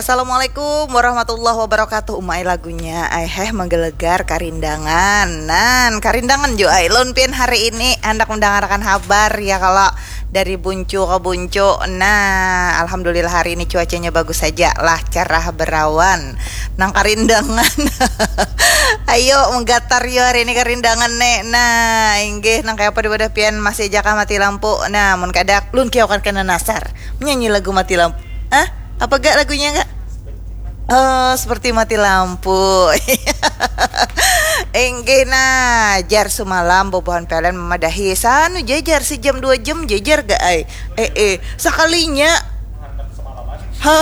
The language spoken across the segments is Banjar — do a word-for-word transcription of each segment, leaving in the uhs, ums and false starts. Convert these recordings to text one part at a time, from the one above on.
Assalamualaikum warahmatullahi wabarakatuh. Uma ai lagunya ai heh menggelegar karindangan. Nan karindangan jo ai lun pian hari ini handak mendengarkan habar ya kalau dari buncu ke buncu. Nah, alhamdulillah hari ini cuacanya bagus saja lah, cerah berawan. Nang karindangan. Ayo menggatar yo hari ini karindangan ne. Nah, inggih nang kaya apa di wadah pian masih aja kah mati lampu. Nah, mun kada lun kiaukan kena nasar. Menyanyi lagu mati lampu. Ah, apa gak lagunya gak? Oh, seperti mati lampu. Inggih nah, jar sumalam bobohan pelen memadahi sanu jajar sejam dua jam jajar gak ai. Eh eh, sekalinya ha,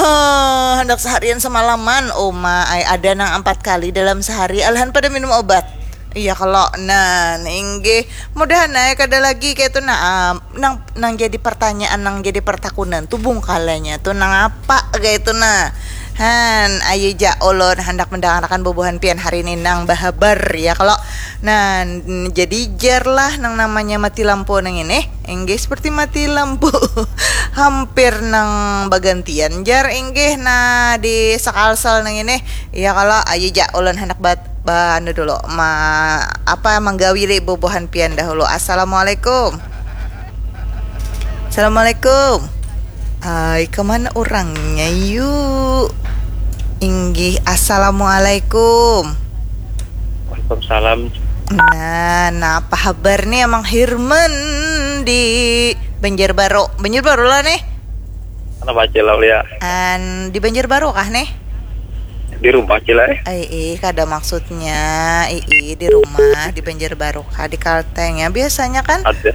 hendak seharian semalaman. Oma ai ada nang empat kali dalam sehari alahan pada minum obat. Iya kalau nah inggih mudahan ai kada lagi kayak itu nah nang nang jadi pertanyaan nang jadi pertakunan tuh bungkalanya tuh nang apa kayak itu nah. Han, ayo ja ulun hendak mendengarkan bubuhan pian hari ini nang bahabar ya kalau nah jadi jar lah nang namanya mati lampu nang ini. Inggih seperti mati lampu. Hampir nang bagantian jar inggih nah di sekalsel nang ini. Iya kalau ayo ja ulun hendak bat ba anu dulu ma apa manggawili bubuhan pian dahulu. Assalamualaikum. Assalamualaikum. Hai, kemana orangnya yuk? Inggih, assalamualaikum. Waalaikumsalam. Nah, nah apa habar nih Amang Hirman di Banjarbaru? Banjarbaru lah nih. Kenapa aja lah ya? An di Banjarbaru kah nih? Di rumah aja lah. Eh. Ai, ih, kada maksudnya, ih, di rumah di Banjarbaru kah di Kalteng ya biasanya kan? Ada.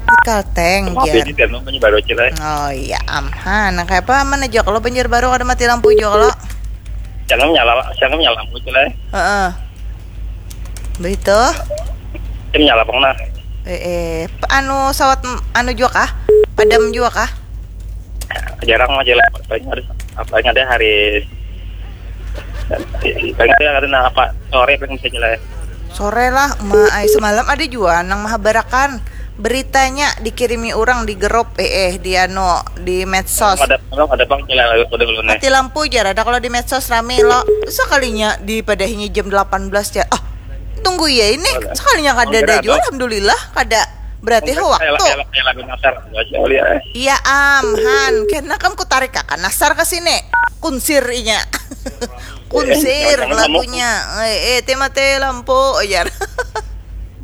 Di Kalteng Maaf ya jar. Di Danu Banjarbaru aja lah. Oh iya, amhan. Nah, kayak apa mana aja kalau Banjarbaru kada mati lampu juga kalau. Jangan nyala, jangan nyala lampu aja lah. Heeh. Begitu. Tim nyala pang nah. Eh, eh, p- anu sawat m- anu juga kah? Padam juga kah? Jarang aja lah. Paling ada apa yang ada hari paling ada hari nah apa sore paling bisa aja lah. Sore lah, ma ai semalam ada juga nang mahabarakan beritanya dikirimi orang di grup eh eh di anu di medsos. Ada belum ada pang nyala lagu pada dulu nih. Mati lampu jar ada kalau di medsos rame lo. Sekalinya dipadahinya jam delapan belas jar. Ah, tunggu ya ini. Sekalinya kada ada juga alhamdulillah kada berarti ho waktu. Kayak lagu nasar aja kali ya. Iya am han, kena kam ku tarik akan nasar ke sini. Kunsir inya. Kunsir Jangan ngamuk. Lagunya. Eh, eh, ti mati lampu jar.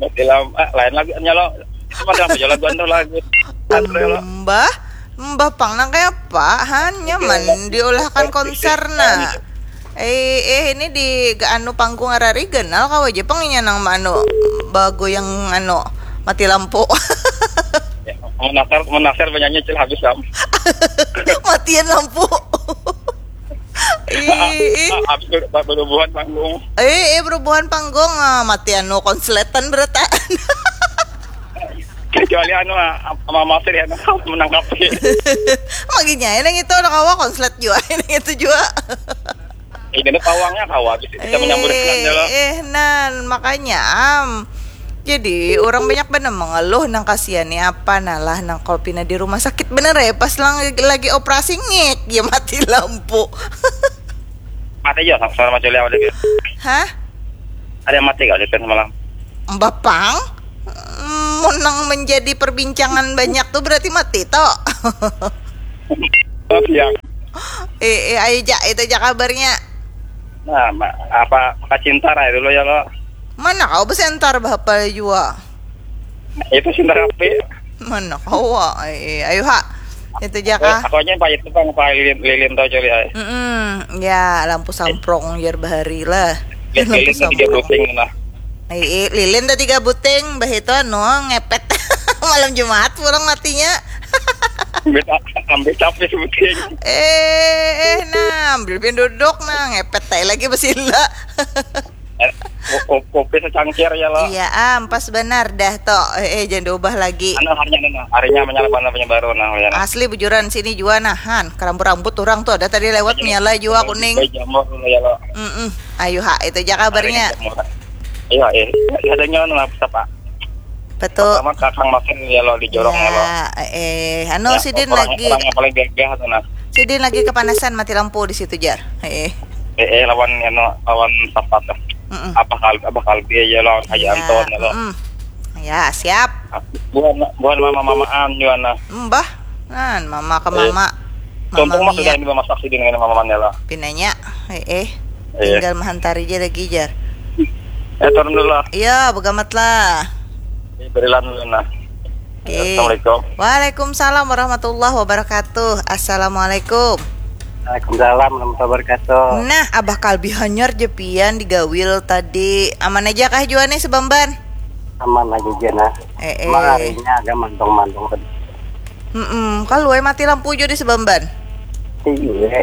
Mati lampu ah, lain lagu nyala. Mati lampu jalan gua tuh lagu. Antri lo. Mbah, mbah pang nang kayak apa? Han nyaman diulahkan konser nah. Eh, eh ini di ga- anu panggung arari ganal kawa aja pang inya nang anu bagoyang anu mati lampu. Menasar menasar penyanyi cil habis sam. Matian lampu. Ih, ih. Habis ber- ber- berhubungan panggung. Eh, eh berubuhan panggung ah, mati anu konsletan berataan. Kecuali anu ah, sama Masir ya menangkap. Maginya nang itu ada kawa konslet juga nang itu juga. Ini pawangnya kawa bisa, bisa menyambut eh, dengan lo. Eh nan makanya am. Jadi orang banyak benar mengeluh nang kasihan nih apa nalah nang kalau pina di rumah sakit bener ya pas lang lagi operasi ngek ya mati lampu. Mati aja sama sama Juli awal gitu. Hah? Ada yang mati kali kan semalam. Bapang? Mun nang menjadi perbincangan banyak tuh berarti mati toh. Oh siang. Eh, eh ayo ja itu aja kabarnya. Nah, ma- apa maka cinta rai dulu ya lo. Mana kau besentar bahapal jua. Itu cinta kafe. Mana kau? Eh, eh, ayo ha. Itu aja Eh, kah? Aku aja pak itu bang pak lilin lilin tau coli ay. Mm-mm. Ya lampu samprong jar bahari lah. Lilin Lampu lilin tiga samprong. Buting lah. Eh, eh, lilin tadi tiga buting, bah itu anu ngepet malam Jumat pulang matinya. Ambil ambil capek sebuting. Eh, eh, nah, ambil pin duduk nah ngepet tai lagi besila. Eh, ko- ko- Kopi secangkir ya lo. Iya am, pas benar dah toh. Eh, eh, jangan diubah lagi. Anu harinya anu, harinya menyala mana punya baru nah ya. Asli bujuran sini jua nah han, kerambut-rambut orang tuh ada tadi lewat menyala jua kuning. Baik jamur dulu ya lo. Mm-mm. Ayo ha, itu aja kabarnya. Harinya jamur. Iya, eh, adanya anu apa? Betul. Sama kakang makin ya lo di jorong ya lo. Ya, eh, anu Ya, sidin orang, lagi. Orang yang paling gagah tuh nah. Sidin lagi kepanasan mati lampu di situ, jar. Heeh. Eh, eh, lawan anu, lawan sapat lah. Mm-mm. Abah Kal-, Abah Kalbi aja lawan Haji Anton ya, lo. Mm-mm. Ya, siap. Buhan, buhan mama-mamaan juga nah. Mbah, nan mama ke mama. Eh, mama sudah ini memasak sidin dengan mama Manela. Pinanya, eh, eh. Iya. Tinggal menghantar aja lagi, jar. Eh, turun dulu lah. Iya, begamat lah. Eh, berilan dulu nah. Oke. Assalamualaikum. Waalaikumsalam warahmatullahi wabarakatuh. Assalamualaikum. Waalaikumsalam warahmatullahi wabarakatuh. Nah, Abah Kalbi hanyar je pian digawil tadi. Aman aja kah jua nih sebamban? Aman aja, Jana. Eh, eh. Cuma harinya agak mandung-mandung sedikit. Mm-mm. Kalau mati lampu jua di sebamban. Iya.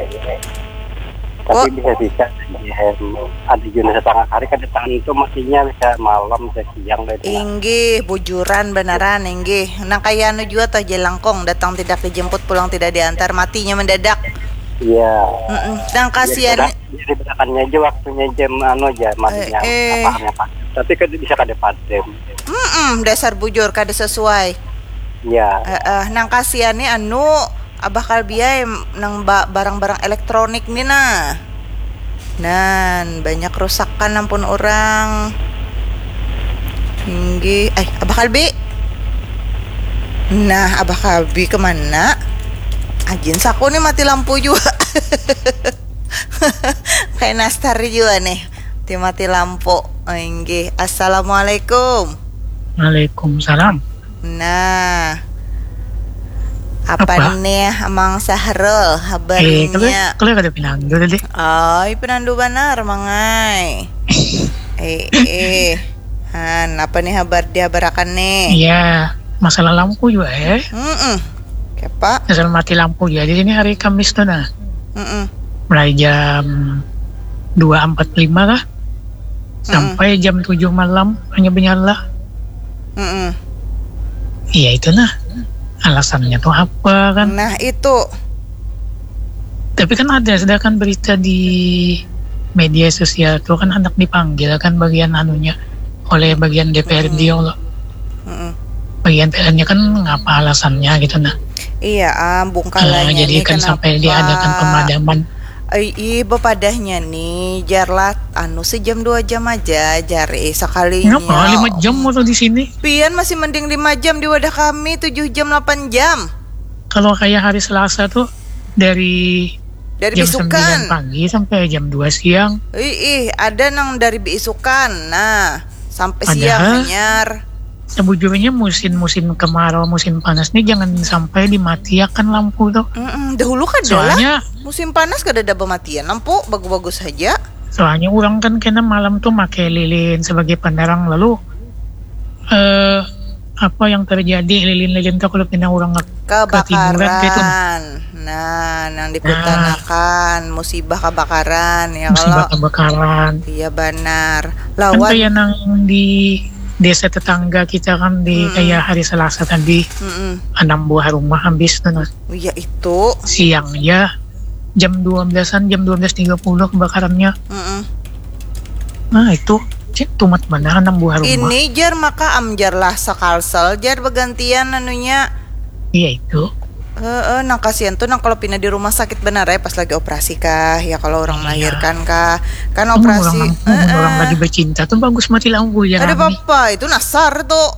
Tapi bisa-bisa, em, ada juga setengah hari kada tantu matinya, bisa malam, bisa siang, bisa. Inggih, bujuran banaran, inggih. Nang kaya anu jua toh, jelangkong, datang tidak dijemput, pulang tidak diantar, matinya mendadak. Iya. Mm-mm. Nang kasihan. Jadi berakannya aja waktunya jam anu aja, matinya, eh, eh, apa, apa. Tapi kada bisa kada padam. Mm-mm, dasar bujur, kada sesuai. Iya. Eh, eh, nang kasihan nih anu, Abah Kalbi ai, nang ba-, barang-barang elektronik ni nah. Nan, banyak rusakan ampun urang. Inggih, eh, Abah Kalbi. Nah, Abah Kalbi kemana? Ajin saku nih mati lampu jua. Kayak nastar jua nih. Ti mati lampu. Inggih. Assalamualaikum. Waalaikumsalam. Nah. Apa nih, Amang Sahrul, habarnya? Eh, kalau, kalau kada pinandu tadi. Ai, pinandu banar, Mangai. Eh, eh. Han, apa nih habar dihabarakan nih? Iya, masalah lampu juga, eh. Mm-mm. Kepa? Masalah mati lampu juga. Di sini hari Kamis tuh, nah. Mm-mm. Mulai jam dua empat puluh lima kah? Sampai jam tujuh malam hanya menyala. Mm-mm. Iya, itu nah. Alasannya tuh apa kan? Nah, itu. Tapi kan ada, sedangkan berita di media sosial tuh kan hendak dipanggil kan bagian anunya oleh bagian D P R D, mm-mm, ya Allah. Mm-mm. Bagian P R-nya kan ngapa alasannya gitu nah. Iya, ah, bungkalannya. Nah, jadi kan kenapa sampai diadakan pemadaman. Ai, ih, bepadahnya nih, jar lah, anu, sejam dua jam aja, jar, eh, sekalinya. Ngapa lima jam waktu di sini? Pian masih mending lima jam, di wadah kami tujuh jam, lapan jam. Kalau kayak hari Selasa tuh dari, dari jam bisukan, sembilan pagi sampai jam dua siang. Ih, ih, ada nang dari bisukan, nah, sampai siang hanyar. Padahal sebujurnya musim-musim kemarau, musim panas nih jangan sampai dimatiakan lampu tuh. Mm-mm, dahulu kada lah. Soalnya musim panas kada ada pematian lampu, bagus-bagus saja. Soalnya orang kan kena malam tuh make lilin sebagai penerang, lalu, eh, apa yang terjadi, lilin-lilin tuh kalau kena orang ketiduran gitu. Kebakaran. Nah, nang dikutanakan, nah, musibah kebakaran, ya, musibah kalau kebakaran. Iya, banar. Kan lawan kayak nang di desa tetangga kita kan, di, mm-mm, kayak hari Selasa tadi, mm-mm, enam buah rumah habis tuh, nah. Iya, itu. Siang ya, jam dua belasan, jam dua belas tiga puluh kebakarannya. Mm-mm. Nah, itu, cek tumat banar enam buah rumah. Ini, jar, maka am, jar lah, sekalsel, jar, begantian anunya. Iya, itu. Heeh, nang kasihan tuh nang kalau pina di rumah sakit benar ya, pas lagi operasi kah, ya kalau orang melahirkan kah. Kan operasi, orang lagi bercinta tuh bagus mati lampu, ya. Ada apa-apa, itu nasar tuh.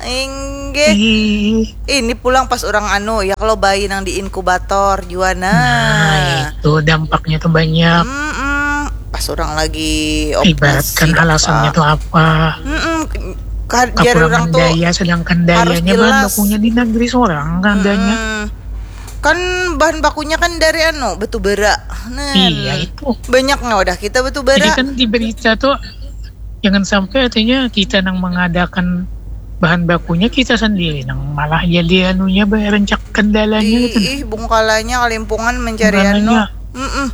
Inggih. Ih. Ini pulang pas orang anu, ya kalau bayi nang di inkubator jua, nah. Nah, itu dampaknya tuh banyak. Mm-mm. Pas orang lagi operasi. Ibaratkan alasannya tuh apa? Mm-mm. Jar orang tuh daya, sedangkan dayanya bahan bakunya di negeri sorang kan adanya. Mm-mm. Kan bahan bakunya kan dari anu, batu bara. Nah, iya, itu. Banyaknya wadah kita batu bara. Jadi kan di berita tuh jangan sampai artinya kita nang mengadakan bahan bakunya, kita sendiri nang malah jadi anunya, bayar rencak kendalanya gitu. Ih, bungkalanya kalimpungan mencari anu. Bungkalanya. Mm-mm.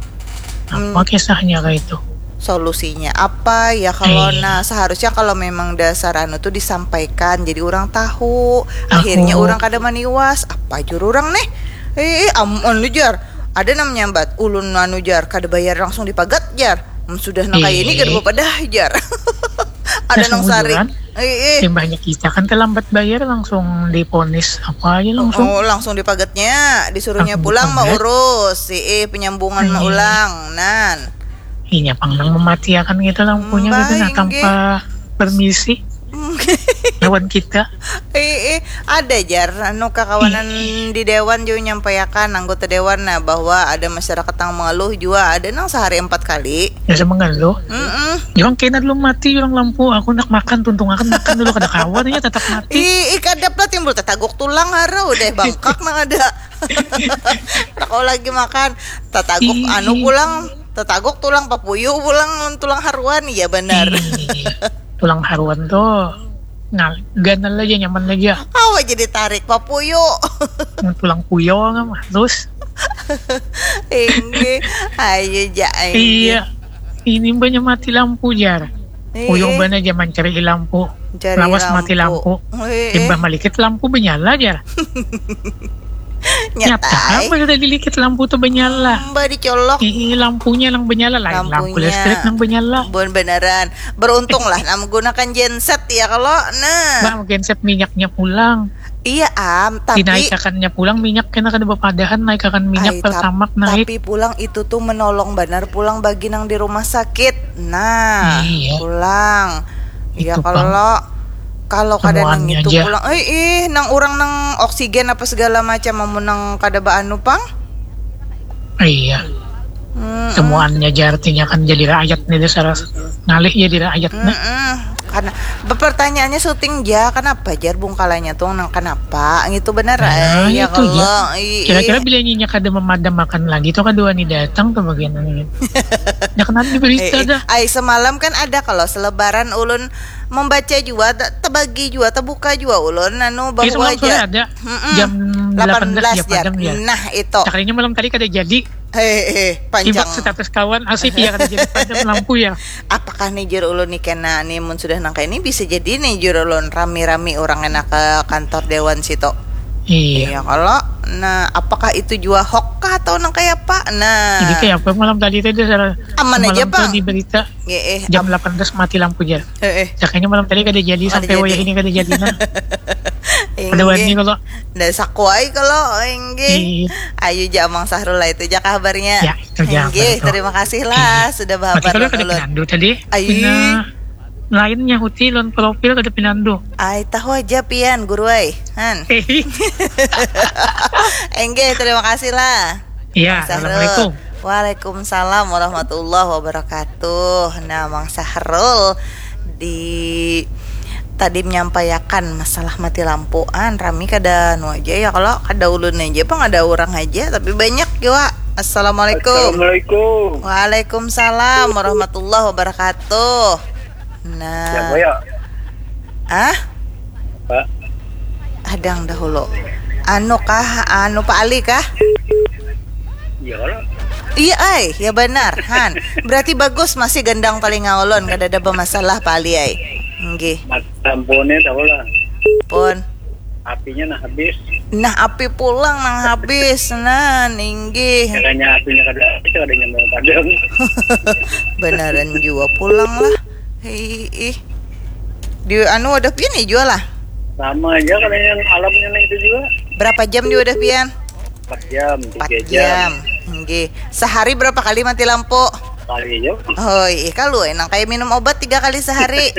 Apa kisahnya kayak itu? Solusinya apa ya kalau, iya, nah, seharusnya kalau memang dasar anu tuh disampaikan, jadi orang tahu. Tahu. Akhirnya orang kada maniwas. Apa jur orang nih? Eh, eh, am-, anu, jar. Ada nang menyambat, ulun anu, jar, kada bayar langsung dipagat, jar. Hmm, sudah nang kaya ini kada bapadah, jar. Ada nang sarik. Eh, eh. Imbahnya kita kan terlambat bayar, langsung diponis apa aja langsung. Oh, langsung dipagetnya, disuruhnya langsung pulang dipaget. Maurus, eh, penyambungan eh. Maulang, nan. Inya pang nang mematiakan kita lampunya gitu, nah, tanpa permisi lawan kita. Eh, eh, ada jar anu kakawanan di dewan jua nyampaiakan, anggota dewan, nah, bahwa ada masyarakat nang mengeluh jua, ada nang sehari empat kali. Ya, sama mengeluh. Mm-mm. Jurang kena dulu mati, jurang lampu, aku nak makan, tuntung akan makan dulu, kada kawan, ya, tetap mati. Ih, ih, kadap lah timbul tetaguk tulang, hara, udah bangkak nang ada. Nak kau lagi makan, tetaguk anu pulang, tetaguk tulang papuyu pulang, tulang haruan, iya benar. Ih, tulang haruan tuh ngal ganal aja, nyaman aja. Awak jadi tarik papuyu. Tulang puyo nggak mah, terus. Inggih, ayo ja. Iya, ini banyak mati lampu jar. Puyo bana aja mencari lampu. Lawas mati lampu. Imbah malikit lampu menyala jar. Nyata, nyata eh. Apa sudah dilikit lampu tuh menyala? Mbak dicolok. Ih, lampunya nang menyala, lain lampu listrik nang menyala. Bon beneran. Beruntung lah, nah, menggunakan genset ya kalau, nah. Bang, genset minyaknya pulang. Iya am, tapi dinaikakannya pulang minyak kena kada bepadahan naikakan minyak. Ay, pertamak naik. Tapi pulang itu tuh menolong benar pulang bagi nang di rumah sakit. Nah, iya. Pulang. Iya kalau kalau kada nang itu pulang, eh ih nang orang nang oksigen apa segala macam amun nang kada baanu pang. Iya. Mm-mm. Temuannya aja artinya kan jadi rakyat nih dasar ngalih jadi rakyat nih. Mm-mm. Karena pertanyaannya syuting ja kenapa jar bungkalanya tuh nang kenapa gitu benar nah, eh, ya itu kalau ya. Kira-kira bila nyinya kada memadam makan lagi tuh kedua nih datang tuh bagian ini. Ya kenapa di berita eh, dah. Ay semalam kan ada kalau selebaran ulun membaca jua, terbagi jua, terbuka jua ulun anu bahwa aja ada. Mm-mm. Jam delapan belas ya, padam ya. Nah, itu. Cakrinya malam tadi kada jadi. Hehehe, panjang. Ibak status kawan asik ya kada jadi padam lampu ya. Apakah nih jur ulun nih kena nih mun sudah nangka ini bisa jadi nih jur ulun rami-rami orang enak ke kantor dewan situ. Iya. Iya kalau nah apakah itu jua hok kah atau nang kayak apa? Nah. Jadi kayak apa malam tadi tadi salah. Aman aja, Bang. Di berita. Nggih, eh, jam delapan belas mati lampu jar. Heeh. Cakanya malam tadi kada jadi sampai wayah ini kada jadi nah. Ada wani kalau. Ndak sakuai kalau inggih. Ayo ja Amang Sahrul lah itu ja kabarnya. Ya, inggih, terima kasih lah sudah bahabar kalau kada pinandu tadi. Ayo. Lainnya huti lon profil kada pinandu. Ai tahu aja pian guru ai. Han. Inggih, terima kasih lah. Iya, assalamualaikum. Waalaikumsalam warahmatullahi wabarakatuh. Nah, Mang Sahrul di tadi menyampaikan masalah mati lampuan rami kada nu aja ya kalau kada ulun aja pang ada orang aja tapi banyak juga. Assalamualaikum. Assalamualaikum. Waalaikumsalam warahmatullahi wabarakatuh. Nah. Siapa ya? Ah? Pak. Hadang dahulu. Anu kah? Anu Pak Ali kah? Iya lah. Iya ai, ya benar, Han. Berarti bagus masih gendang telinga ulun, kada ada bermasalah Pak Ali ai. Nggih. Mat lampunya tahu lah. Pun. Apinya nah habis. Nah, api pulang nang habis. Nah, ninggih. Makanya apinya kada habis, ada yang mau padam. Benaran jua pulang lah. Hei, ih. Di anu wadah pian nih jual lah. Sama aja kalau yang alamnya itu juga. Berapa jam di wadah pian? Empat jam, tiga jam. Nggih. Sehari berapa kali mati lampu? Kali aja. Oh, iya kalau nang kayak minum obat tiga kali sehari.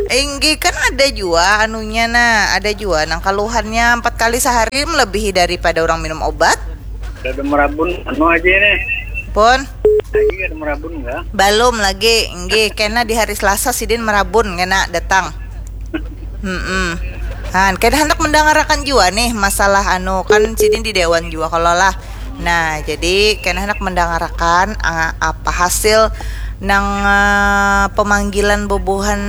Inggih kan ada jua anunya nah, ada jua nang kaluhannya empat kali sehari melebihi daripada orang minum obat. Kada merabun anu aja nih. Pun. Lagi kada merabun enggak? Belum lagi, inggih kena di hari Selasa sidin merabun kena datang. Hmm. Han, kena hendak mendangarakan jua nih masalah anu kan sidin di dewan jua kalau lah. Nah, jadi kena hendak mendangarakan apa hasil nang uh, pemanggilan bubuhan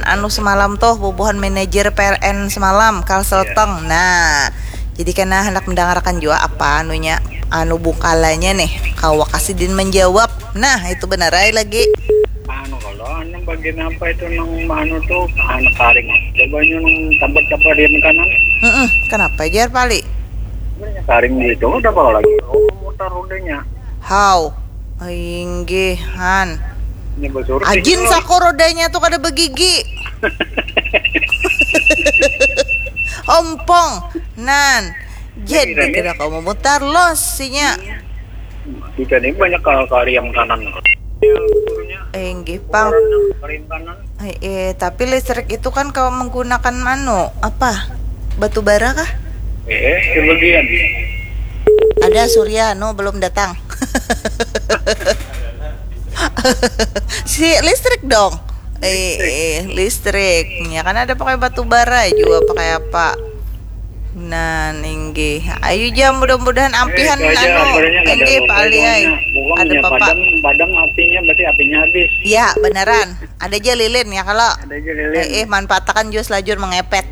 anu semalam tuh bubuhan manajer P L N semalam Kalselteng. Yeah. Nah, jadi kena hendak mendengarkan juga apa anunya anu bungkalanya nih kawa kasidin menjawab. Nah, itu benar ay lagi. Anu kalau anu bagian apa itu nang anu tuh anu karing. Coba nang tempat apa di kanan. Mm-mm. Kenapa jar pali? Karing gitu udah apa lagi? Oh, mutar rodanya. How? Inggih, Han. Ajin sako rodanya tuh kada begigi. Ompong. Nan. Jadi kada kawa memutar los sinya. Kita ni banyak kal kariam kanan. Inggih pang. Kariam kanan. Eh, eh, tapi listrik itu kan kawa menggunakan manu apa? Batu bara kah? Eh, sebagian. Ada surya, no, belum datang. Si listrik dong. Eh, eh, listrik. Ya kan ada pakai batu bara juga, pakai apa? Nah, inggih. Ayu jam mudah-mudahan ampihan eh, anu. Inggih, Pak Ali ai. Ada Bapak. Padam, padam apinya, berarti apinya habis. Ya, beneran. Ada aja lilin ya kalau. Ada aja lilin. Eh, eh, manfaatakan jus lajur mengepet.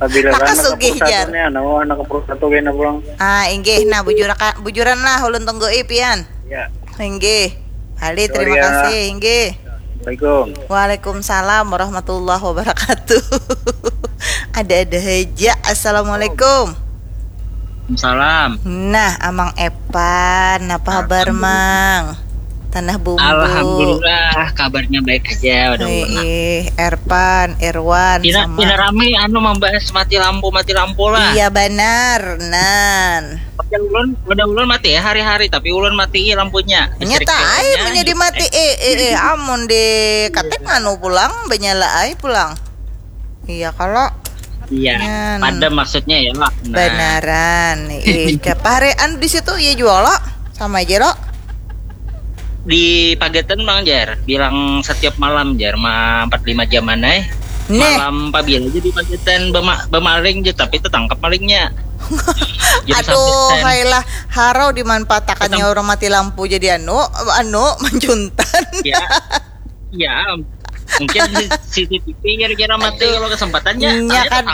Apabila anak sugih jar. Nih, anak anak perut satu kena pulang. Ah, inggih. Nah, bujurakan bujuran lah ulun tunggui pian. Ya. Inggih. Ali, terima kasih. Inggih. Assalamualaikum. Waalaikumsalam warahmatullahi wabarakatuh. Ada-ada aja. Assalamualaikum. Salam. Nah, Amang Epan, apa kabar, Mang? Tanah bumbu. Alhamdulillah, kabarnya baik aja. Udah Wih, Erpan, Irwan, Ina, sama. Ina rame anu membahas mati lampu, mati lampu lah. Iya benar, nan. Udah ulun, udah ulun mati ya hari-hari, tapi ulun mati lampunya. Nyata air menjadi mati. Eh, eh, eh, amun di katek anu pulang, benyala ai pulang. Iya kalau Iya, pada maksudnya ya lah. Nah. Benaran. Ih, parean di situ iya juga lo. Sama aja lo. Di Pagetan Bang Jar, bilang setiap malam Jar, ma empat lima jaman eh. Nih. Malam pabila aja di Pagetan bema, bemaling aja tapi tetangkap malingnya. Aduh, hailah harau dimanfaatakannya orang mati lampu jadi anu, anu manjuntan. Ya. Ya, mungkin C C T V kira-kira mati kalau kesempatannya. Inya kad,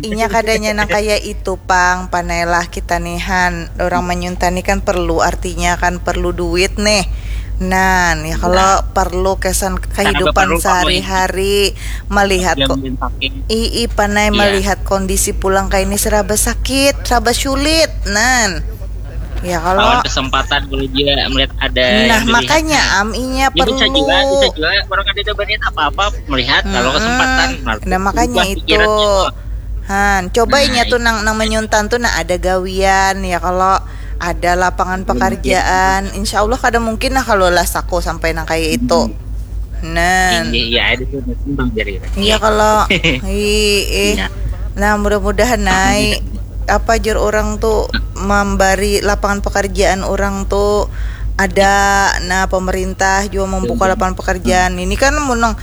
inya kadanya nang kaya itu pang, panailah kita nihan orang menyuntani kan perlu artinya kan perlu duit nih. Nah, ya kalau nah. Perlu kesan kehidupan sehari-hari melihat kok ii panai ya. Melihat kondisi pulang kayak ini seraba sakit, seraba sulit, nan. Ya kalau Lawan kesempatan dulu dia melihat ada nah makanya am inya perlu bisa juga, bisa juga orang ada banyak apa-apa melihat hmm, kalau kesempatan nah, nah makanya itu han coba nah, inya tuh nang nang menyuntan tuh nah ada gawian ya kalau ada lapangan pekerjaan insya Allah kada mungkin nah kalau lah sako sampai nang kayak itu hmm. Nah iya ada tuh iya kalau ih nah mudah-mudahan naik apa jar orang tuh memberi lapangan pekerjaan orang tuh ada nah pemerintah juga membuka lapangan pekerjaan ini kan menang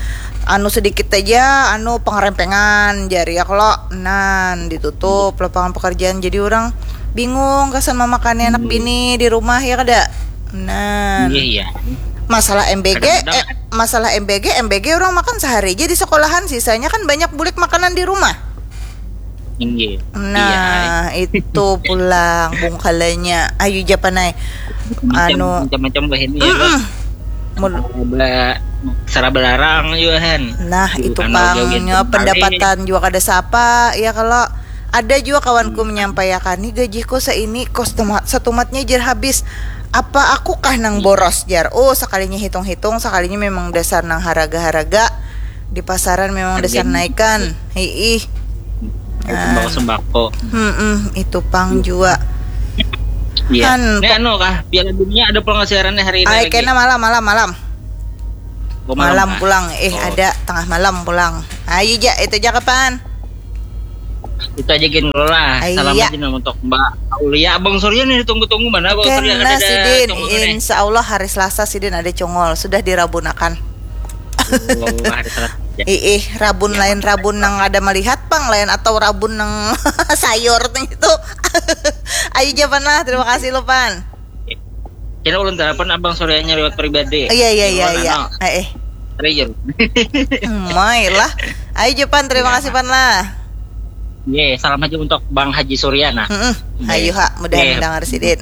anu sedikit aja anu pengerempengan jari ya kalau nan ditutup lapangan pekerjaan jadi orang bingung kesan memakannya anak bini di rumah ya kada nan iya, iya. Masalah M B G eh, masalah M B G M B G orang makan sehari aja di sekolahan sisanya kan banyak bulik makanan di rumah Inggih. Nah, iya, itu pulang bungkalanya. Ayu japanai. Anu macam-macam bah ini ya. Mul- seraba larang juga kan. Nah, itu pangnya pendapatan juga kada sapa ya kalau ada juga kawanku hmm. Menyampaikan nih gajiku seini kos tumat setumatnya jer habis. Apa aku kah nang boros jar? Oh, sekalinya hitung-hitung, sekalinya memang dasar nang haraga-haraga. Di pasaran memang dasar naikan. Hiih. Nah, sembako. Hmm, itu pang jua. Iya. Kan, ini anu kah? Piala Dunia ada pulang siarannya hari ini. Ay, kena malam, malam, malam. Oh, malam, malam pulang. Eh, oh. Ada tengah malam pulang. Ayo, ja, itu aja kapan? Itu aja gin lah. Salam iya. Aja untuk Mbak Aulia. Abang Surya nih tunggu-tunggu mana Abang Surya? Kena sidin. Insya Allah hari Selasa sidin ada congol. Sudah dirabunakan. Ih, rabun lain rabun nang ada melihat pang lain atau rabun nang sayur nang itu. Ayo japan lah, terima kasih lo pan. Kira ulun telepon abang sorenya lewat pribadi. Iya iya iya iya. Eh eh. Real. Mai lah. Ayo japan, terima kasih pan lah. Ye, salam aja untuk Bang Haji Surya nah. Ayo ha, mudahan mendengar sidin.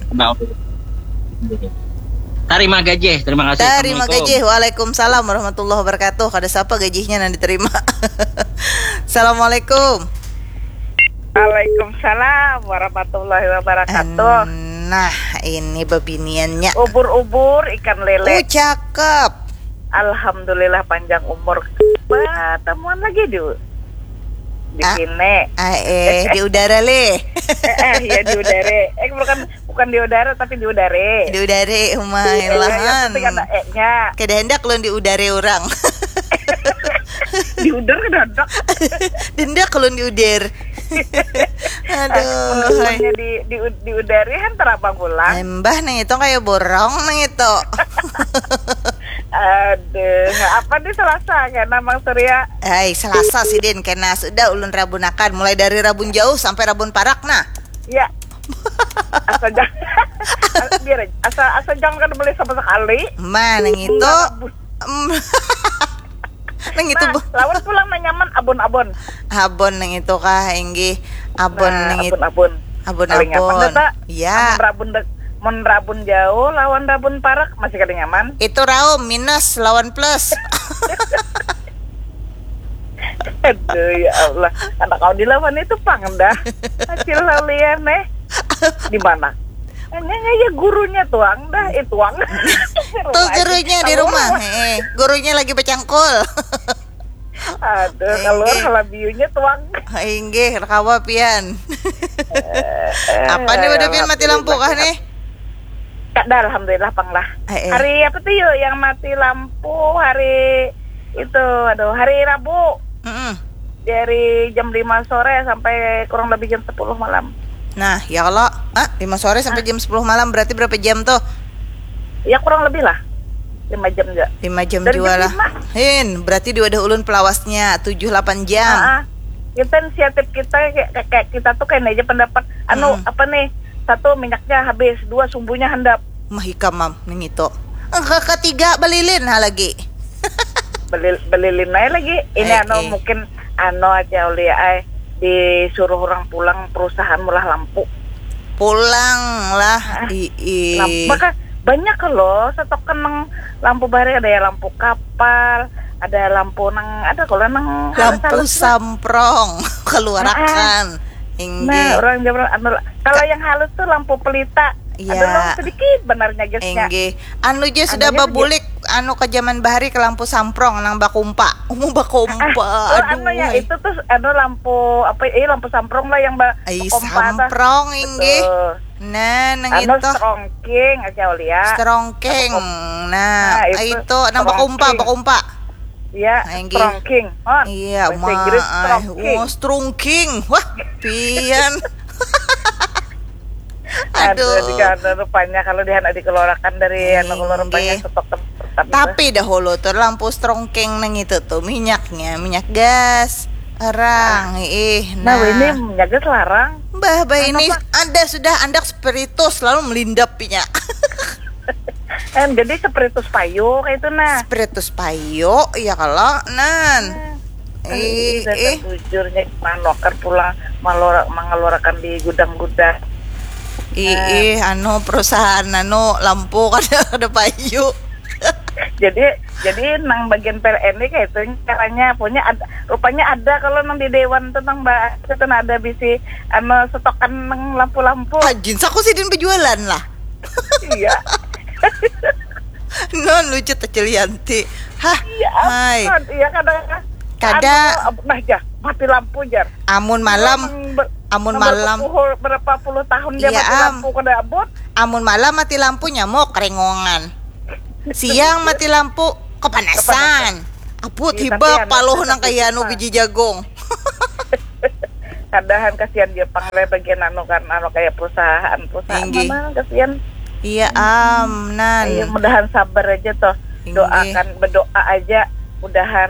Tarima gajih, terima kasih. Tarima gajih, waalaikumsalam warahmatullahi wabarakatuh. Kada sapa gajihnya nang diterima. Assalamualaikum. Waalaikumsalam warahmatullahi wabarakatuh. Nah, ini bebiniannya. Ubur-ubur ikan lele. Oh, cakep. Alhamdulillah panjang umur. Batamuan lagi di di Ah. kene. Ah, eh, di udara leh. Eh, eh, ya di udara. Eh, bukan bukan di udara tapi di udara. Di udara, umai Eh, ya, ya, lahan. penting ada eh-nya. Kada hendak lun di udara orang. Di udara kada ada. Dendak lun di udir. Aduh, hai. Menurutnya di di di udara kan terabang pulang. Embah nang itu kayak borong nang itu. Aduh, apa nih Selasa kena Mang Surya? Hai, Selasa sidin kena sudah ulun rabunakan mulai dari rabun jauh sampai rabun parak nah. Ya. Asa jangan biar aja. Asa asa jangan kada boleh sama sekali. Ma nang itu. Em, nang itu Nah, bu. Lawan pulang nang nyaman abon-abon. Abon nang itu kah, inggih. Abon Nah, nang itu. Abon-abon. Paling nyaman Abon-abon. dah, tak? Ya. Amun rabun de- mun rabun jauh lawan rabun parak masih kada nyaman. Itu raum minus lawan plus. Aduh ya Allah, anak kau dilawan itu pang dah. Acil Laulian eh. Di mana? Hanya ya gurunya tuang dah, eh tuang. Tuh gurunya di rumah. Eh, gurunya lagi bercangkul. Aduh, keluar Inggih. Halabiunya tuang. Inggih, kawa pian. Apa nih udah pian mati lampu kah nih? Kada, alhamdulillah pang lah. Eh, eh. Hari apa tuh yuk yang mati lampu? Hari itu, aduh, hari Rabu. Mm-mm. Dari jam lima sore sampai kurang lebih jam sepuluh malam. Nah, ya kalau ah, lima sore sampai jam sepuluh malam berarti berapa jam tuh? Ya kurang lebih lah. Lima jam juga. Lima jam Dari juga jam lah. lima. Hin, berarti dia udah ulun pelawasnya tujuh delapan jam. Ah, ah. Kita inisiatif kita kayak, kayak kita tuh kayak aja pendapat anu Mm-mm. apa nih? Satu minyaknya habis, dua sumbunya handap. Mah ikam mam nang itu. Eh, ke ketiga belilin ha lagi. Belil, belilin aja lagi. Ini Eh, anu eh. Mungkin anu aja Aulia ay disuruh orang pulang perusahaan mulah lampu. Pulang lah. Ah, Ih. Lampu, maka banyak loh setokan nang lampu bareng ada ya lampu kapal, ada lampu nang ada kalau nang Lampu halus-halus lah. Samprong keluarakan. Nah, Inggih. Orang zaman anu kalau yang halus tuh lampu pelita. Iya. Ada loh sedikit benarnya guysnya. Inggih. Anu je sudah Anunya tuh babulik anu ke zaman bahari ke lampu samprong nang bakumpa. Umu bakumpa. Oh, Aduh. Anu ya itu tuh anu lampu apa eh lampu samprong lah yang ba Ai bakumpa tah. Samprong inggih. Betul. Nah, nang Anu itu. Strongking aja Aulia. Strongking. Nah, Nah, itu itu nang bakumpa, strongking. Bakumpa. Ya, Nah, inggih. Strongking. Oh, Iya, bahasa Inggris ma, Strongking. Oh, strongking. Wah, pian. Aduh, Aduh. Di sana rupanya kalau di anak dikeluarkan dari anu kalau rupanya Inggih. Stok tempat. Tapi dahulu tuh lampu strongking nang itu tuh minyaknya minyak gas. Orang, ih, Nah, nah. Ini minyak gas larang. Bah, bah ini Apa? Ada sudah andak spiritus lalu melindap pinya. Eh, jadi spiritus payu kayak itu nah. Spiritus payo, ya kalau nan. Ih, Ih, ih. Bujurnya manuakar pulang malora, mengeluarkan di gudang-gudang. Ih, ih, anu perusahaan anu lampu kada ada payu. Jadi jadi nang bagian P L N ini kayak itu caranya punya ada rupanya ada kalau nang di dewan tuh nang bahas itu nah ada bisi anu setokan nang lampu-lampu. Ajin saku sidin berjualan lah. Iya. Non lucu Tecil Yanti. Hah. Iya. Hai. Kan, iya kadang Kada. Anu, nah ya mati lampu jar. Amun malam, Nang ber- amun nang malam. Berapa puluh, berapa puluh tahun dia Iya, mati am. Lampu kada abut. Amun malam mati lampu nyamuk rengongan. Siang mati lampu kepanasan. Abut Iya, hibak tapi anu paluh susah nang kaya anu susah. Biji jagung. Kadahan kasihan dia pang leh bagian anu kan anu kayak perusahaan perusahaan Inggih. Mana kasihan. Iya am nan. Iya mudahan sabar aja toh. Inggih. Doakan berdoa aja mudahan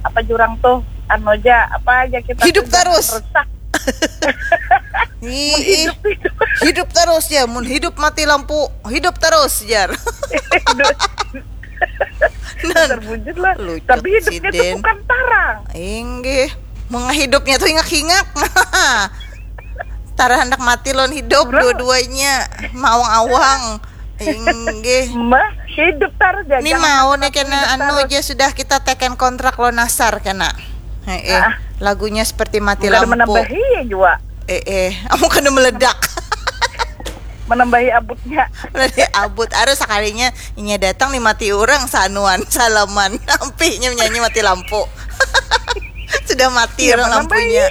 apa jurang tuh anu aja apa aja kita Hidup tuh jangan terus. Rusak. Ih, hidup terus ya mun hidup mati lampu hidup terus jar. Nan. Terwujud lah. Lucut Tapi hidupnya tuh siden. Bukan tarang. Inggih. Mengah hidupnya tuh hingak-hingak. Tara hendak mati lawan hidup Orang- dua-duanya. Mawang-awang. Inggih. Mah hidup tarang aja. Ni Jangan mau sampai nih kena hidup anu tarang. Aja sudah kita teken kontrak lo nasar kena. Heeh. Ah. Lagunya seperti mati Bukan lampu. Menambahi ya juga. Eh eh, kamu kena meledak. Menambahi abutnya. Menambahi abut. Aduh, sakalinya inya datang nih mati orang sanuan salaman. Ampihnya menyanyi mati lampu. Sudah mati iya, orang lampunya.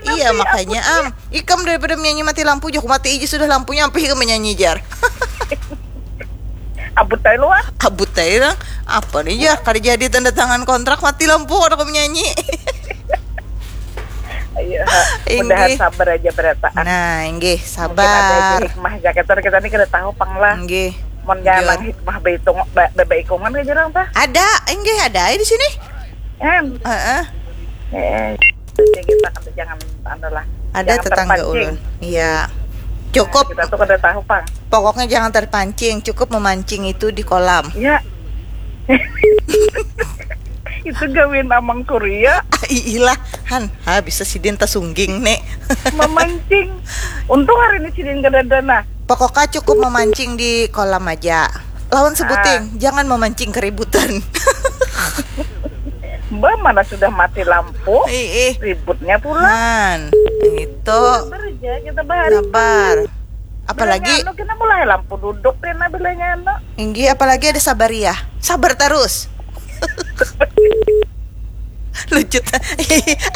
Iya, makanya am ikam daripada menyanyi mati lampu, jok mati aja sudah lampunya, ampih ikam menyanyi jar. Abut aja lu ah. Abut aja lah. Apa nih ya, kada jadi tanda tangan kontrak mati lampu orang menyanyi. Iya, mudahan sabar aja berataan. Nah, inggih, sabar. Hikmah jaket kita ini kada tahu pang lah. Inggih. Mun jangan hikmah baitung baikungan ke jerang tah. Ada, inggih ada di sini. Em. Heeh. Eh, kita kada jangan anu lah. Ada tetangga ulun. Iya. Cukup. Kita tuh kada tahu pang. Pokoknya jangan terpancing, cukup memancing itu di kolam. Iya. Itu gawin amang Korea. Iilah, han, ha bisa sidin tasungging nek. Memancing. Untung hari ini sidin kada ada nah. Pokoknya cukup memancing di kolam aja. Lawan sebuting, ah. Jangan memancing keributan. Mbak mana sudah mati lampu? Ih, ih. Ributnya pulang. Han, itu. Sabar aja kita bahari. Sabar. Apalagi anu kena mulai lampu duduk kena bilanya anu. Inggih, apalagi ada sabar ya. Sabar terus. Lucut.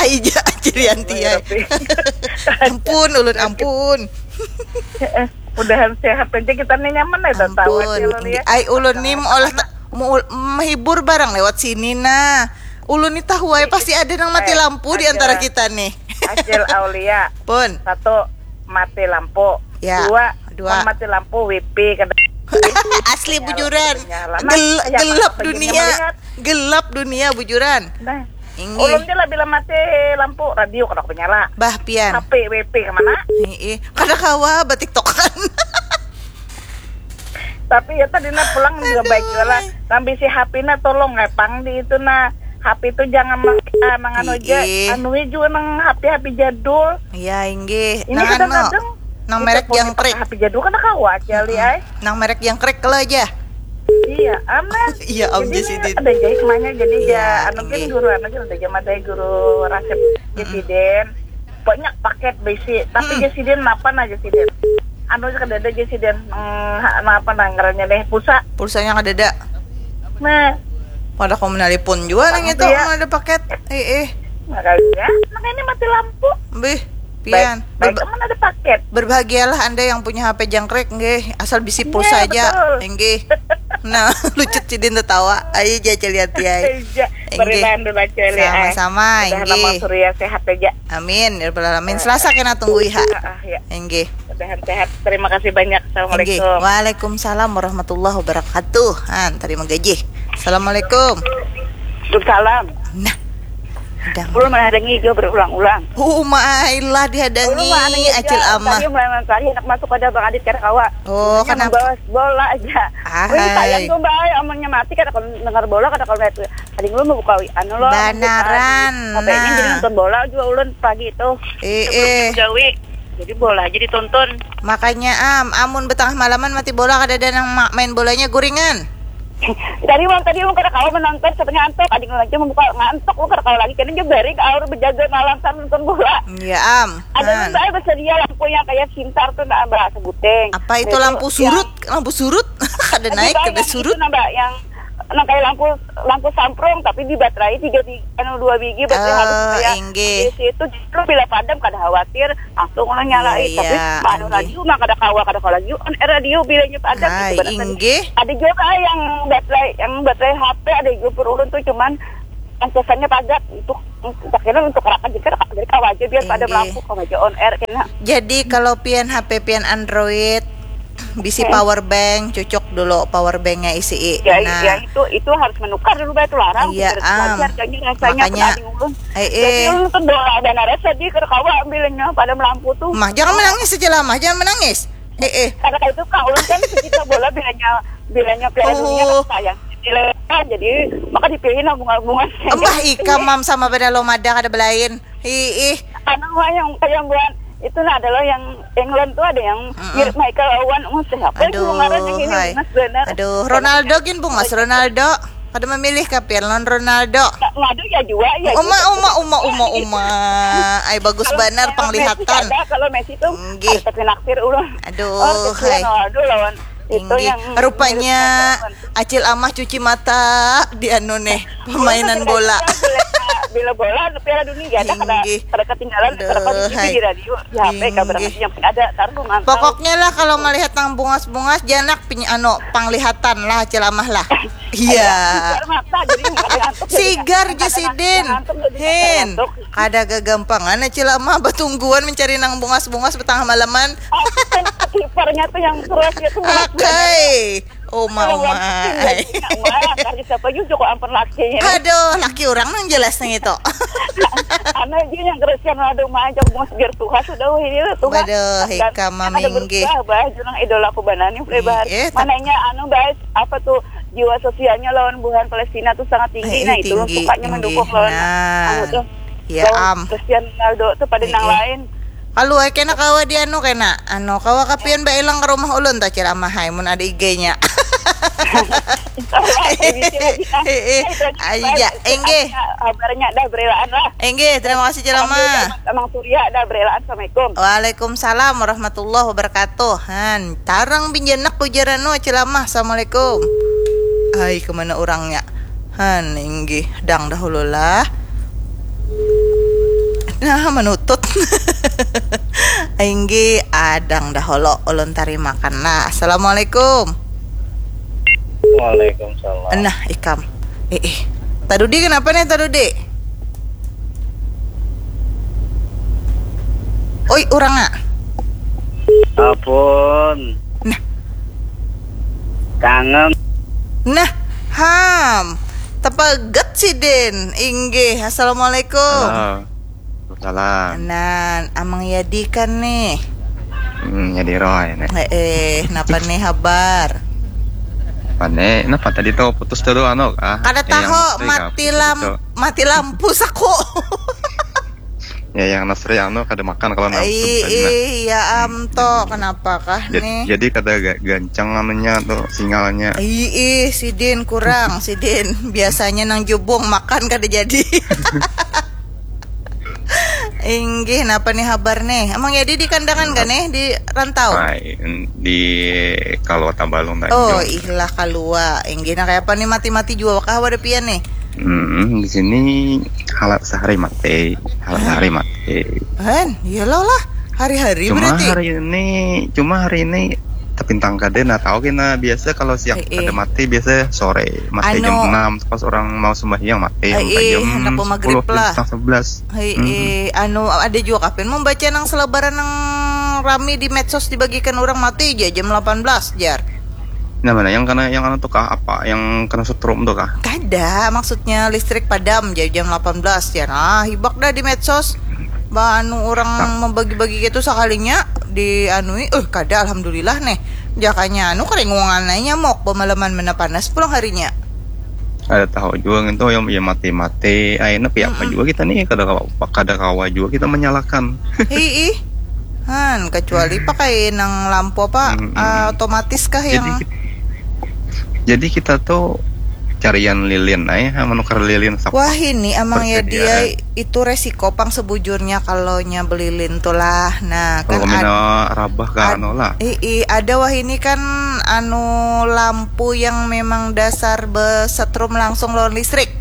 Aija aja Rianti ya. Ampun ulun ampun. Mudahan sehat aja kita nih nyaman ya tahu aja lo ya. Ai ulun nih mau olah mau menghibur barang lewat sini nah. Ulun nih tahu aja pasti ada yang mati eh, lampu di antara kita nih. Acil Aulia. Pun. Satu mati lampu. Ya. Dua, dua. Mati lampu W P kada. Asli bujuran. Gel gelap dunia. Gelap dunia bujuran. Nah. Inggih. Ulun je lah bila mati lampu radio kada aku menyala. Bah pian. H P W P kemana? Heeh. Kada kawa batiktokan. Tapi ya tadi na pulang juga baik juga lah. Nang bisi H P na tolong eh pang di itu nah. H P itu jangan makan nang anu aja. Anu juga nang H P H P jadul. Iya inggih. Ini kadang-kadang nang merek jangkrik. H P jadul kan kawa aja li ay. Nang merek jangkrik kalau aja. Iya, aman. Iya, am jadi sidin. Ada jadi semuanya jadi ya, anu kan guru anu kan ada jam ada guru rasep presiden. Banyak paket besi, tapi hmm. Jesiden mapan aja sidin. Anu kada ada Jesiden. Hmm, anu apa nang ngarannya deh? Pulsa. Pulsanya kada ada. Nah. Pada kau menelpon juga nang itu ya. Ada paket. Eh eh. Makanya, makanya mati lampu. Bih, pian. Baik, baik, ada paket. Berbahagialah Anda yang punya H P jangkrik nggih, asal bisi iya, pulsa ya, aja. Nggih. Nah, lucut sidin tertawa. Ayo jaja lihat ya. Sama-sama. Inggih. Surya sehat aja. Amin. Ya rabbal alamin. Selasa kena tunggu iha. Heeh, ya. Inggih. Mudahan sehat. Terima kasih banyak. Assalamualaikum. Inggih. Waalaikumsalam warahmatullahi wabarakatuh. Han, terima gaji. Assalamualaikum. Waalaikumsalam. Nah. Belum menghadangi juga berulang-ulang. Oh, mailah dihadangi Acil Amah. Tadi mulai mencari anak masuk pada Bang Adit kada kawa. Oh, kenapa? Membawa bola aja. Wih, sayang tuh Mbak, omongnya mati kada dengar bola kada kalau itu. Tadi dulu mau buka anu loh. Banaran. Apa ini jadi nonton bola juga ulun pagi itu. Eh, eh. Gawe. Jadi bola aja ditonton. Makanya am, amun betengah malaman mati bola kada ada nang main bolanya guringan. Tadi malam tadi ulun kada kawa menonton, katanya antok, ading ulun aja membuka ngantuk, ulun kada kawa lagi, kena jebari ke aur bejaga malam sambil nonton bola. Iya am. Ada nang saya bersedia lampu yang kayak sintar tuh nah, mbak sebuting. Apa itu lampu surut? Lampu surut? Kada naik, kada surut. Nah, mbak, yang nang kayak lampu lampu samprong tapi di baterai tiga tiga anu dua biji baterai halus kayak inggih. Di situ justru bila padam kada khawatir langsung ulun nyalai iya, tapi iya, anu radio mah kada kawa kada kawa lagi on air radio bilanya padam. Hai, gitu, inggih. Ada juga yang baterai yang baterai H P ada juga per ulun tuh cuman ancesannya padat itu akhirnya untuk rakan jadi jadi kawa aja biar padam lampu kawa aja on air kena. Jadi kalau pian H P pian Android bisi hmm. Power bank, cucuk dulu power banknya isi. Ya, nah, ya itu itu harus menukar dulu bayar tularang. Iya, am. Harganya rasanya makanya, eh, eh. Jadi lu tuh doa dan ada sedih kerkawa ambilnya pada melampu tuh. Mah, jangan menangis saja lah, mah, jangan menangis. Eh, eh. Karena itu kak ulun kan kita bola bilanya bilanya piala oh. Dunia kan sayang. Jadi maka dipilih bunga-bunga. Embah ikam mam sama pada lomada kada belain. Ih, ih. Anu yang yang buat itu nah adalah yang England tuh ada yang mm -mm. Mirip Michael Owen, oh, siapa aduh, itu ngaran yang ini bungas benar. Aduh, Ronaldo gin bungas Ronaldo. Kada memilih kah pian lawan Ronaldo? Ngadu ya jua, ya Uma, jua. Uma, uma, uma, uma. Ay, bagus kalau, banar kalau penglihatan. Messi ada, kalau Messi tuh Nggih. Ada tapi naksir ulun. Aduh, oh, hai. Ronaldo lawan itu yang rupanya Acil Amah cuci mata di anu nih, permainan bola. Bila, bila bola Piala Dunia ya, kada, kada ketinggalan, kada kondisi di radio, di H P, kabar yang penting ada taruh mantau. Pokoknya lah kalau melihat nang bungas-bungas, janak piny-, anu, panglihatan lah, Acil Amah lah. Iya. Sigar ji sidin. Hin. Kada gagampangan Acil Amah batungguan mencari nang bungas-bungas batangah malaman. Kipernya tuh yang keras ya tuh. Akai. Uma, uma. Siapa juga ampun lakinya. Aduh, laki orang nang jelas nang itu. Anu aja yang Cristiano Ronaldo mah aja mau segar tuha sudah ini tuh. Bade hikam maminggih. Bah, bah, junang idola aku banani, bah. Mananya anu, bah, apa tuh, jiwa sosialnya lawan buhan Palestina tuh sangat tinggi. Nah, itu sukanya mendukung lawan anu tuh. Ya am. Cristiano Ronaldo tuh pada nang lain. Kalu ai kena kawa di anu kena. Anu kawa kapian ba ilang ke rumah ulun ta Cil Amah hai mun ada igenya. Iya, enggih. Kabarnya dah berelaan lah. Enggih, terima kasih Cil Amah. Amang Surya dah berelaan. Assalamualaikum. Waalaikumsalam warahmatullahi wabarakatuh. Han, tarang binjenak ujar anu Cil Amah. Assalamualaikum. Hai, kemana orangnya? Han, inggih, dang dahulu lah. Nah, manutut. Inggih, adang dahulu ulun tarimakan lah. Assalamualaikum. Waalaikumsalam. Nah, ikam. Eh, eh. Tadudi kenapa nih Tadudi? Oi, urang ah. Apun. Nah. Kangen. Nah, ham. Tepaget sidin. Inggih. Assalamualaikum. Halo. Salam. Nan, Amang Yadi kan nih. Hmm, Yadi Roy nih. Eh, eh, napa nih habar? Pane, napa tadi tuh putus dulu anu ah. Kada tahu, mati lam, mati lampu saku. Ya, yang Nasri anu kada makan kalau nang. Iya, am to, kenapa kah nih? Jadi kada gancang anunya tuh sinyalnya. Iya, sidin kurang, sidin biasanya nang jubung makan kada jadi. Inggih, napa nih habar nih? Emang Yadi di kandangan gak nih, di rantau? Ay, di Kalua Tabalung tadi. Oh, ihlah Kalua. Inggih, nah kayak apa nih mati-mati jua kah wadah pian nih? Hmm, di sini halat sehari mati, halat sehari mati. Hen, iya lah lah. Hari-hari cuma berarti. Hari ini, cuma hari ini tapintang kada nah tahu kena biasa kalau siang eh, eh. Ada mati biasa sore mati anu, jam enam pas orang mau sembahyang mati eh, eh, jam sepuluh lah. Setengah sebelas. Hei, hmm. Eh, anu ada juga kapan membaca nang selebaran nang rami di medsos dibagikan orang mati aja jam delapan belas jar. Nah, mana yang kena yang anu tuh kah apa yang kena setrum tuh kah? Kada, maksudnya listrik padam jam delapan belas ya. Nah, hibak dah di medsos. Bah anu orang nah. Membagi-bagi gitu sekalinya di anui, eh kada alhamdulillah nih. Jakanya anu keringungan aja nyamuk pemalaman mana panas pulang harinya. Ada tahu juga gitu yang ya mati-mati. Aina piapa mm -mm. Juga kita nih kada kawa, kada kawa juga kita menyalahkan. Hei, ih. Han, kecuali pakai nang lampu apa mm -mm. Uh, otomatis kah yang Jadi kita tuh carian lilin aja menukar lilin sapa. Wah ini amang ya dia itu resiko pang sebujurnya kalau nya belilin tuh lah. Nah kan ada rabah kan lah. I, i, ada wah ini kan anu lampu yang memang dasar besetrum langsung lawan listrik.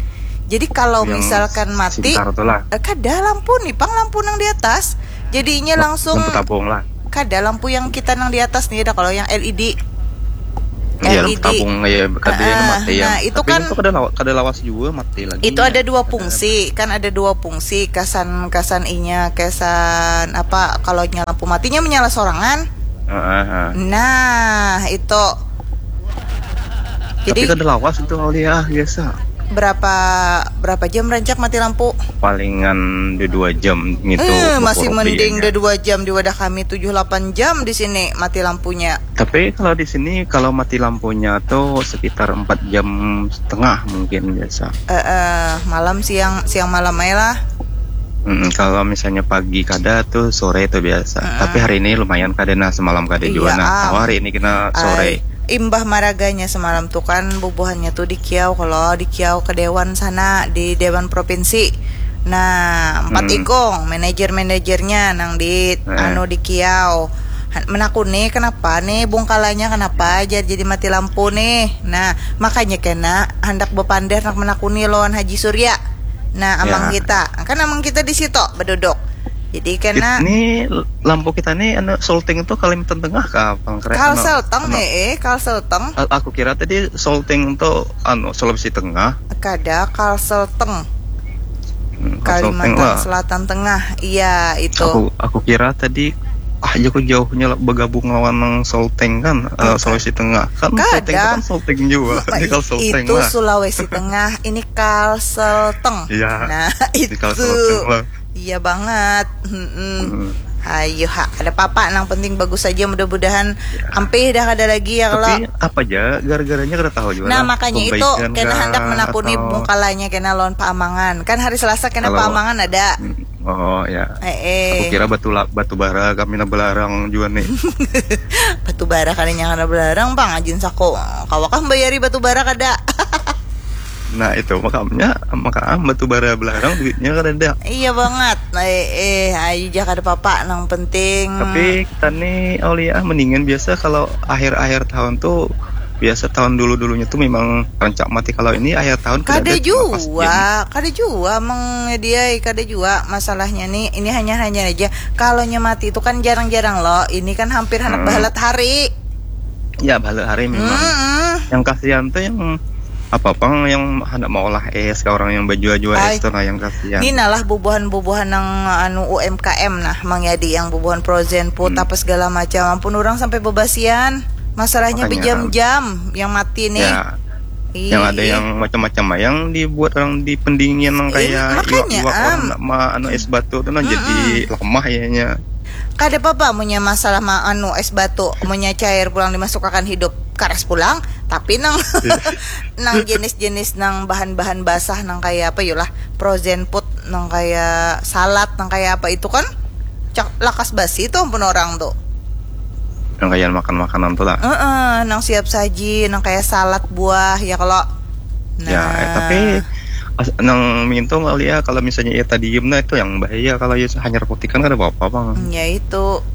Jadi kalau yang misalkan mati eh, kada lampu nih pang lampu nang di atas. Jadinya langsung lampu tabung lah. Kada lampu yang kita nang di atas nih ada kalau yang L E D. Iya, lampu tabung ya kada uh, yang mati ya. Nah, itu tapi kan itu kada lawas, kada lawas juga mati lagi. Itu ada dua fungsi, kan ada dua fungsi kasan kasan inya kesan apa kalau lampu matinya menyala sorangan. Uh, uh, uh. Nah, itu. Jadi, tapi kada lawas itu Aulia biasa. Berapa berapa jam rancak mati lampu? Palingan di dua jam gitu. Eh, masih mending di dua jam di wadah kami tujuh delapan jam di sini mati lampunya. Tapi kalau di sini kalau mati lampunya tuh sekitar empat jam setengah mungkin biasa. Eh, eh, malam siang siang malam aja lah. Mm, kalau misalnya pagi kada tuh sore tuh biasa. Mm. Tapi hari ini lumayan kada nah semalam kada iya, juga nah. Tahu hari ini kena sore. Ay. imbah maraganya semalam tu kan bubuhannya tu di Kiau, kalau di Kiau ke Dewan sana, di Dewan Provinsi. Nah, empat Hmm. ikung manajer-manajernya nang di Eh. anu di Kiau. Han-, menakuni kenapa nih bungkalanya, kenapa aja jadi mati lampu nih. Nah, makanya kena handak bepander nak menakuni lawan Haji Surya. Nah, amang Ya. kita, kan amang kita di situ beduduk. Jadi kena Ini lampu kita nih anu solting tuh Kalimantan Tengah kah, Bang Kre? Anu, Kalsel teng, anu. Eh, eh, Kalsel teng. A-, aku kira tadi solting tuh anu Sulawesi Tengah. Kada, Kalsel teng. Hmm, Kalsel teng Kalimantan lah. Selatan Tengah. Iya, itu. Aku, aku kira tadi, ah, jaku jauhnya lah bergabung lawan nang solting kan, eh, Bukan. Sulawesi Tengah. Kan solting itu Kada. Kan solting juga. Ma-, Ini Kalsel teng itu lah. Sulawesi Tengah, ini Kalsel teng. Iya. Nah, Ini Kalsel itu. Teng lah. Iya banget. Mm-mm. Hmm. Ayo ha, ada papa nang penting bagus saja, mudah-mudahan Ya. ampih dah kada lagi ya kalau. Tapi apa aja gara-garanya kada tahu juga Nah, lah. Makanya itu Pembaikan kena kah handak menakuni atau bungkalanya kena lawan paamangan. Kan hari Selasa kena kalau paamangan ada. Hmm, oh ya. Eh, eh. Aku kira batu la-, batu bara kami na belarang juga nih. Batu bara kada nyangka belarang, Bang, ajin sako. Kawakah membayari batu bara kada? Nah, itu makamnya, maka ah, batu bara belarang duitnya kada ada. Iya banget. Eh, eh, ayo ja kada papa, nang penting. Tapi kita nih Aulia mendingan biasa kalau akhir-akhir tahun tuh biasa tahun dulu-dulunya tuh memang rancak mati. Kalau ini akhir tahun kada Kada ada cuma pas jua, jam. Kada jua meng dia kada jua masalahnya nih. Ini hanya hanya aja kalau nya mati itu kan jarang-jarang loh. Ini kan hampir handak Hmm. bahalat hari. Ya, balik hari memang. Mm-mm. Yang kasihan tuh yang apa pang yang hendak mau olah es ke orang yang bajua-jua Ai. Es tuh nah yang kasihan. Ini nalah bubuhan-bubuhan nang anu U M K M nah, Mang Yadi, yang bubuhan frozen food Hmm. apa segala macam. Ampun, orang sampai bebasian. Masalahnya Makanya. Berjam-jam yang mati nih. Ya. Ih, yang ada ih. Yang macam-macam yang dibuat orang di pendingin yang Eh, kayak makanya, iwak-iwak orang am. Nak ma anu es batu tuh nah jadi Mm-mm. Lemah ya nya. Kada apa-apa munnya masalah ma-, anu, es batu, munnya cair pulang dimasukakan hidup, karas pulang. Tapi nang, iya. Nang jenis-jenis nang bahan-bahan basah, nang kaya apa yulah, frozen food, nang kaya salad, nang kaya apa itu kan, cak lakas basi tuh ampun orang tuh. Nang kaya makan makanan tuh lah. Heeh, nang siap saji, nang kaya salad buah, ya kalau. Ya, eh, nah. Tapi as-, nang mintu kali ya, kalau misalnya ya tadium, nah itu yang bahaya. Kalau ya hanyar putikan kada apa-apa, Bang. Ya itu.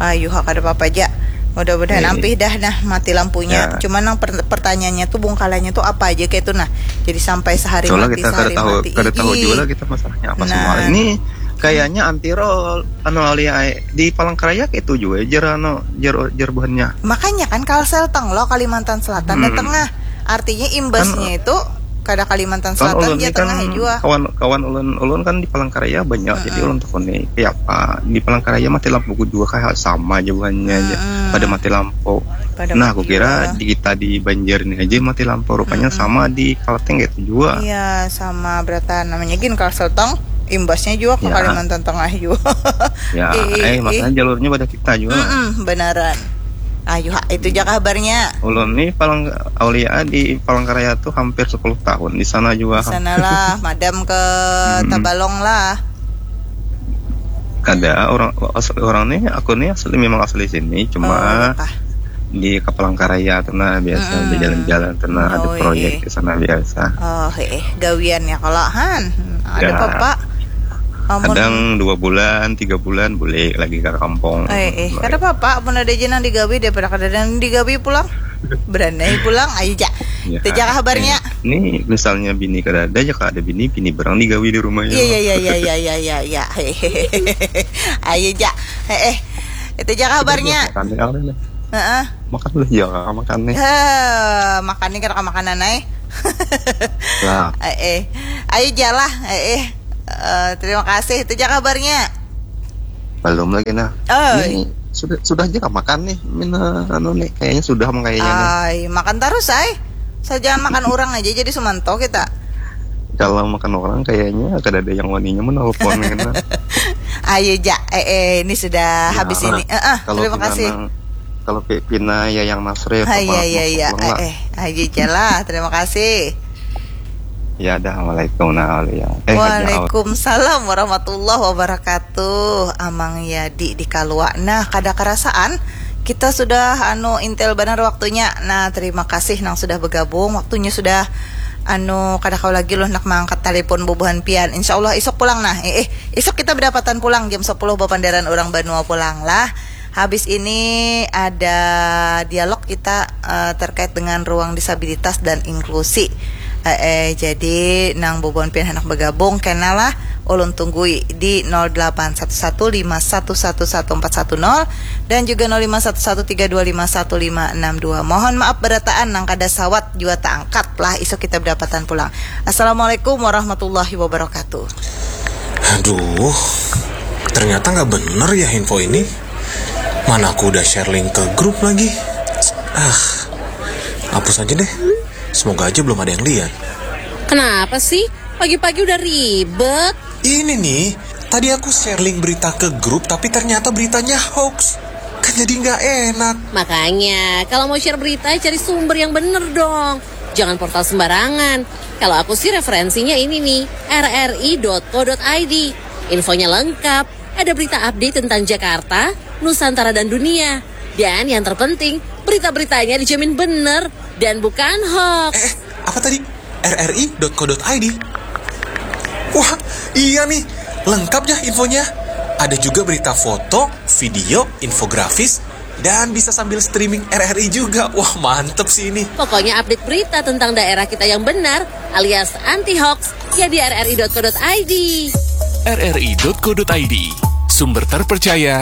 Ayu ha, kada apa-apa aja. Mudah-mudahan eh. Ampih dah nah mati lampunya. Ya. Cuma nang per-, pertanyaannya tuh bungkalannya tuh apa aja kayak itu nah. Jadi sampai sehari mati, sehari mati. Soalnya kita kada tahu, kada tahu juga lah kita masalahnya apa nah. Semua. Ini kayaknya anti roll anu alia di Palangkaraya itu juga jar anu jar jar buhannya. Makanya kan Kalsel teng lo Kalimantan Selatan hmm. Dan Tengah. Artinya imbasnya kan, itu kada Kalimantan Selatan kan dia kan tengah jua. Kawan kawan ulun ulun kan di Palangkaraya banyak hmm. Jadi ulun takuni kayak apa di Palangkaraya mati lampu juga kayak sama aja buhannya hmm. Aja pada mati lampu. Pada nah aku kira di kita di Banjar ini aja mati lampu rupanya hmm. Sama di Kalteng gitu juga. Iya sama beratan namanya gin Kalsel teng imbasnya juga ke ya. Kalimantan Tengah juga. Ya, eh, eh makanya jalurnya pada kita juga. Mm-mm, benaran. Ayo ha, itu aja kabarnya. Ulun nih palang Aulia di Palangkaraya tuh hampir sepuluh tahun di sana juga. Di sana lah, madam ke Tabalong lah. Kada orang asli orang nih, aku nih asli memang asli sini, cuma oh, iya di Palangkaraya tuh nah biasa mm-mm. Di jalan-jalan tuh nah oh, ada proyek iya. Di sana biasa. Oh, eh gawian ya kalau han ada ya. Apa-apa. Amun kadang dua bulan, tiga bulan boleh lagi ke kampung. Eh, eh, kada apa-apa, amun ada aja nang digawi daripada kada ada nang digawi pulang. Beranai pulang, ayo ja. Ya, itu ja kabarnya. Eh, ini misalnya bini kada ada, ya kada ada bini, bini berang digawi di rumahnya. Iya, iya, iya, iya, iya, iya, iya. Ayo ja. Eh, eh. Itu ja kabarnya. Heeh. Makan lah ya, makan nih. Heh, makan nih kada makanan ai. Lah. Eh, eh. Ayo jalah, eh, eh. Uh, terima kasih. Itu aja kabarnya. Belum lagi nah. Oh. Ini sudah sudah aja makan nih. Mina anu nih kayaknya sudah mah kayaknya nih. Ay, makan terus ay. Saya jangan makan orang aja jadi sumanto kita. Kalau makan orang kayaknya kada ada yang waninya menelpon kan. Ayo ja, eh, eh ini sudah ya, habis ini. Eh, eh, terima kasih. Nang, kalau pina ya yang Nasrif. Hai ya ya ya. Eh, eh, ayo jalah. Terima kasih. Ya, ada. Assalamualaikum. Nah, ya. Eh, Waalaikumsalam warahmatullahi wabarakatuh. Amang Yadi di Kalua. Nah, kada kerasaan Kita sudah anu intel banar waktunya. Nah, terima kasih nang sudah bergabung. Waktunya sudah anu kada kau lagi loh nak mengangkat telepon bubuhan pian. Insya Allah isuk pulang nah. Eh, eh, isuk kita berdapatan pulang jam sepuluh bapandaran orang banua pulang lah. Habis ini ada dialog kita eh, terkait dengan ruang disabilitas dan inklusi. Eh, eh, jadi nang bubuhan pian hendak bergabung kena lah ulun tunggui di nol delapan satu satu lima satu satu satu empat satu nol dan juga nol lima satu satu tiga dua lima satu lima enam dua. Mohon maaf berataan nang kada sawat jua taangkat lah isuk kita berdapatan pulang. Assalamualaikum warahmatullahi wabarakatuh. Aduh, ternyata nggak bener ya info ini. Mana aku udah share link ke grup lagi. Ah, hapus aja deh. Semoga aja belum ada yang lihat. Kenapa sih? Pagi-pagi udah ribet. Ini nih, tadi aku share link berita ke grup tapi ternyata beritanya hoax. Kan jadi nggak enak. Makanya, kalau mau share berita, cari sumber yang bener dong. Jangan portal sembarangan. Kalau aku sih referensinya ini nih, rri.co.id. Infonya lengkap, ada berita update tentang Jakarta, Nusantara dan dunia. Dan yang terpenting, berita-beritanya dijamin bener dan bukan hoax. Eh, apa tadi? rri.co.id. Wah, iya nih, lengkap ya infonya. Ada juga berita foto, video, infografis, dan bisa sambil streaming RRI juga. Wah, mantep sih ini. Pokoknya update berita tentang daerah kita yang benar alias anti hoax ya di rri.co.id. rri.co.id, sumber terpercaya